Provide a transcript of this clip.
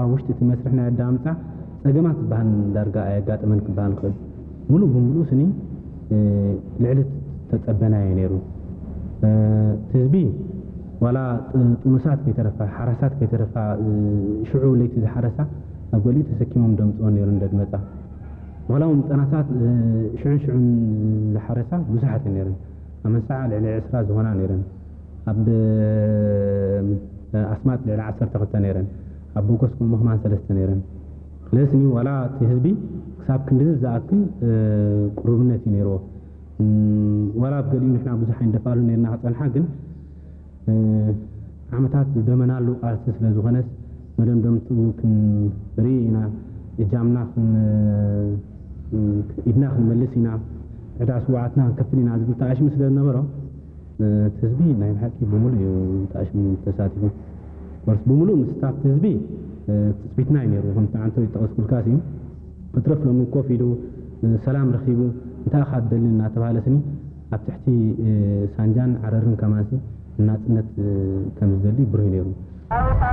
ኣብ ውሽጢ እቲ መስርሕ ናይ ኣዳምፃ ፀገማት ዝበሃል ዳርጋ ኣየጋጠመን ክበሃል ይኽእል። ሙሉእ ብምሉእ ስኒ ልዕሊ ተፀበናዮ ነይሩ። ህዝቢ ዋላ ጥኑሳት ከይተረፋ፣ ሓራሳት ከይተረፋ፣ ሽዑ ለይቲ ዝሓረሳ ኣብ ገሊኡ ተሰኪሞም ደምፅኦ ነይሩ እንደድመፃ። ዋላ እውን ጠናሳት ሽዑን ሽዑን ዝሓረሳ ብዙሓት ነይረን። ኣብ መንሳዓ ልዕሊ ዕስራ ዝኾና ነይረን። ኣብ ኣስማጥ ልዕሊ ዓሰርተ ክልተ ነይረን። ኣብ ቦጎስ ከምኡ ከማን ሰለስተ ነይረን። ስለዚ ዋላ እቲ ህዝቢ ክሳብ ክንድዚ ዝኣክል ቅሩብነት እዩ ነይርዎ። ዋላ ኣብ ገሊኡ ንሕና ብዙሕ ኣይንደፍኣሉ ነይርና ክፀንሓ፣ ግን ዓመታት ዝደመናሉ ቃልሲ ስለ ዝኾነስ መደምደምትኡ ክንርኢ ኢና። እጃምና ኢድና ክንመልስ ኢና፣ ዕዳ ስውዓትና ክንከፍል ኢና ዝብል ተኣሽሙ ስለ ዝነበሮ እቲ ህዝቢ ናይ ብሓቂ ብምሉእ እዩ ተኣሽሙ ተሳቲፉ። ወርስ ብምሉእ ምስታፍ ህዝቢ ትፅቢትና እዩ ነይሩ። ከምቲ ዓንቶ ይጠቐስኩልካ እዩ። ክትረፍ ሎሚ ኮፍ ኢሉ ሰላም ረኺቡ እንታይ ኢኻ ትደሊ እናተባሃለ ስኒ ኣብ ትሕቲ ሳንጃን ዓረርን ከማንሲ ናፅነት ከም ዝደሊ ብሩህ ነይሩ።